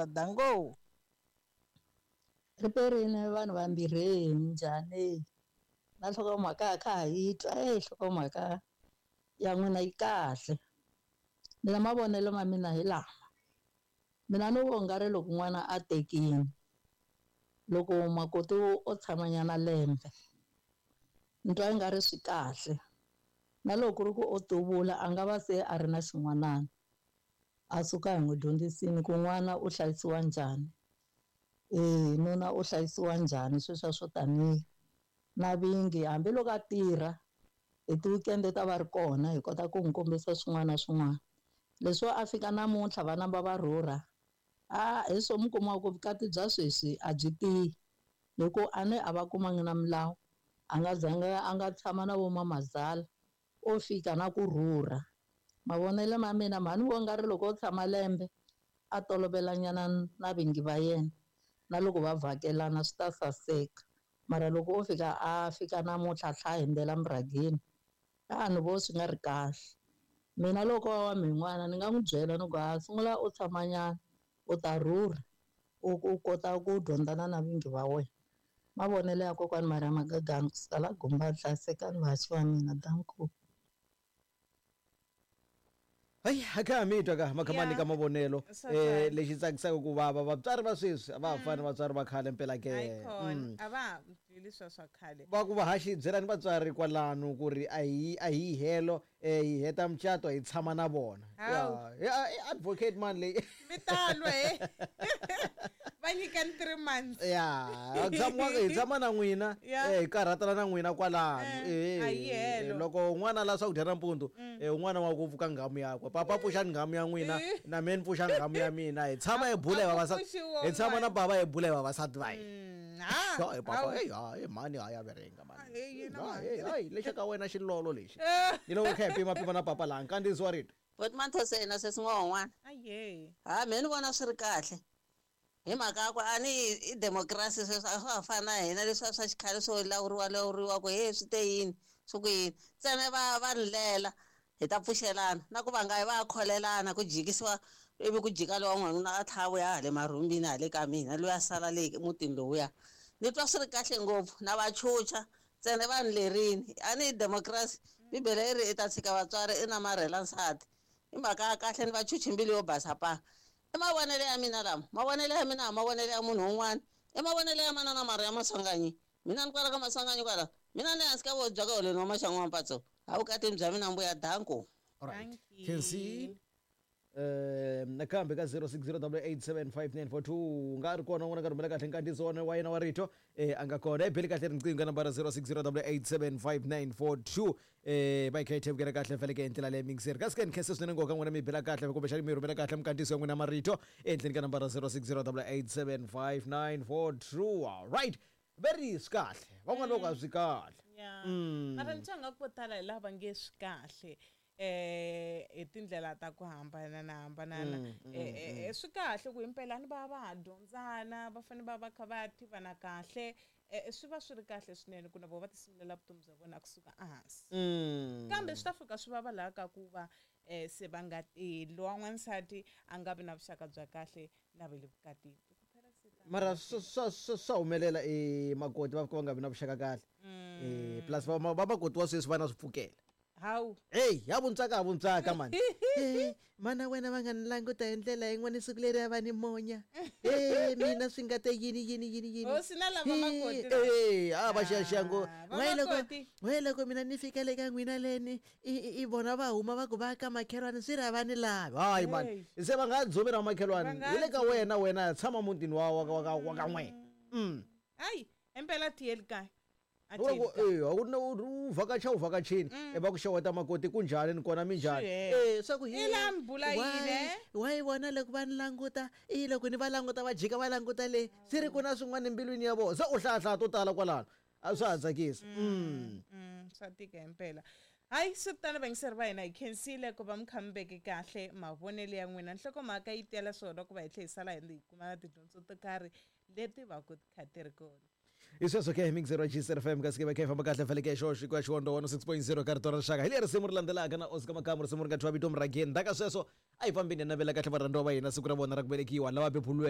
Danko. Riperini vanhu vambirhi minjhani na nhlokomhaka a kha ha yi twa e nhlokomhaka ya n'wina yi kahle mina mavonelo ma mina hi lama mina ni vo nga ri loko n'wana a tekile loko makoti o tshamanyana lembe ni twa i nga ri swi kahle na loko ku ri ku o tuvula a nga va se a ri na xin'wanana a suka hi n'wi dyondzisini ku n'wana u hlayisiwa njhani e nuna u hlayisiwa njhani sweswiya swo taniya na vingi hambiloko a tirha hi ti-weekend ta va ri kona hi kota ku n'wi kombisa swin'wana na swin'wana leswo a fika namuntlha va namba va rhurha a hi swo mi kuma ku vukati bya sweswi a byi tiyi hi ku a ni a va kumangi na milawu a nga zanga a nga tshama na vo mamazala o fika na ku rhurha mavonelo ma mina mhani vo nga ri loko o tshama lembe a tolovelanyana na vingi va yena na loko va vhakelana swi ta saseka mara loko o fika a fika namuntlha a tlha a hundzela murhangeni a ni vo swi nga ri kahle mina loko wa wa min'wana ni nga n'wi byela ni ku ha sungula u tshamanyana u ta rhurha u kota ku dyondzana na vingi va wena mavonelo ya kokwani Maria Magagani kusuka la Gumba hlayisekani vahaxi va mina danko. Hayi a kha ha mi twa ka makhamani Yeah. ka mavonelo Swa twala. Lexi tsakisaka ku vava vatswari va sweswi a va ha fani vatswari va khale mpela ke. Ayikhona a va ha byeli swa swa khale. Va ku vahaxi byelani vatswari kwalano ku ri a hi helo hi heta mucato hi tshama na vona. Hawu. Ya, i advocate man leyi. Mi ta lwa he. Va nyikani 3 months. Ya, hi tshama na n'wina. Ya. Hi karhatana na n'wina kwalano. A yi helo. Loko un'wana a lava swakudya nampundzu, un'wana wa ku pfuka nghamu yakwe. Papa pfuxani nghamu ya n'wina, na mina ni pfuxa nghamu ya mina. Hi tshama hi bula hi A ku vavasati. pfuxiwa Hi tshama na un'wana. bava hi bula hi vavasati va hina. Ha, Hayi papa, hawu. hey, hayi mhani hayi a verenga mhani. Hey, yena Hayi, mhani. hey, hayi, lexa ka wena xilolo lexi. Ni loko kha hi pima pima na papa laha, nkandziyiso wa rito. Boti Manthose yena sweswi n'wana. Aye. Ha mina ni vona swi ri kahle. Hi mhaka ya ku a ni i democracy sweswi a swa ha fani na hina leswiya swa xikhale swo lawuriwa lawuriwa ku he swi te yini swi ku yini ntsena va va rilela hi ta pfuxelana na ku va nga yi va ya kholelana ku jikisiwa ivi ku jika lowa n'wanuna a tlha a vuya hale marhumbini hale ka mina loyi a sala le mutini lowuya ni twa swi ri kahle ngopfu na va chucha ntsena va ni lerini a ni democracy bibele yi ri i ta tshika vatswari i namarhela nsati i mhaka ya kahle ni va chuchi mbilu yo basa pa i mavonelo ya mina lama mavonelo ya mina a mavonelo ya munhu un'wana i mavonelo ya manana Maria Maswanganyi mina ni kwala ka Maswanganyi kwala mina ni hansi ka vohi bya ka holweni wa maxangu wa mpatso ha vukatini bya mina mbuya danko. Alright. Thank you. Khensi. Nakambe ka 0608875942 nga ri kona n'wana ka rhumela kahle nkandziyiso wa yena wa rito a nga kona i beli kahle riqingho ka nambara 0608875942 va yi kha yi thevukela kahle faneleke hi ndlela leyi mingiseri kasi ke ni khense swinene ngopfu ka n'wina mi bela kahle kumbexani mi rhumela kahle minkandziyiso ya n'wina marito ehenhleni ka nambara 0608875942. Alright, ve ri swi kahle van'wana va ku a swi kahle. Ya. Mara ni twa nga ku vo tala hi lava nge swi kahle hi tindlela ta ku hambana na hambanana. Swi kahle ku himpela ni va va ha dyondzana va fanele va va kha va tivana kahle swi va swi ri kahle swinene ku na vona va ti sungulela vutomi bya vona kusuka ehansi. Kambe swi ta fika swi vava laha ka ku va se va nga lowa n'wansati a nga vi na vuxaka bya kahle na va le vukatini. Mara swa humelela makoti va fika va nga vi na vuxaka kahle. Plus va makoti wa sweswi va na swipfukela. Hawu. Hey, ya vuntswaka, ya vuntswaka mani. Hey, mana wena va nga ni languta hi ndlela yin'wana siku leri a va ni monya. Hey, mina swi nga te yini yini yini yini. Hosi na lava makoti la. Hey, a va xiyaxiya ngo. Ah, va Why loko, makoti. why loko mina ni fika le ka n'wina leni, i vona va huma va ku va ka makhelwani swi ri a va ni lavi. Hayi mani. Hey. Se va nga dzumi ra makhelwani. Va nga Hi le ka dzumi. wena, wena tshama mutini wa ka n'we. Hayi, impela tiyeli kaya. A Loko, tiyeli kaya. a ku na u vhakacha, u vhakachini. Va ku xeweta makoti kunjhani ni kona minjhani? Swi hela. Swa ku I la mbula yini, eh? why vona loko va ni languta, i loko ni va languta va jika va languta le, swi ri ku na swin'wana embilwini ya vona. Se u hlayahlaya to tala kwalano. A swa ha tsakisi. Swa tika himpela. Hayi, swi tano vayingiseri va hina hi khensile ku va mi kha mi veke kahle mavonelo ya n'wina. Nhlokomhaka yi tela swona ku va hi tlhela hi sala hi kuma na tidyondzo to karhi leti va ku ti kha ti ri kona. Hi sweswo ke mixer wa GCR FM kasi ke va kha hi famba kahle faneleke hi xoxo ku ya xiwondo 106.0 ka rito ra rixaka. Hi leri risimu ri landzelaka na Oscar Makamu, risimu ri nga thyiwa vito Murhangeni. Ndzhaku ka sweswo A hi fambeni hi navela kahle varhandziwa va hina siku ra vona ra ku velekiwa lava beburiweke.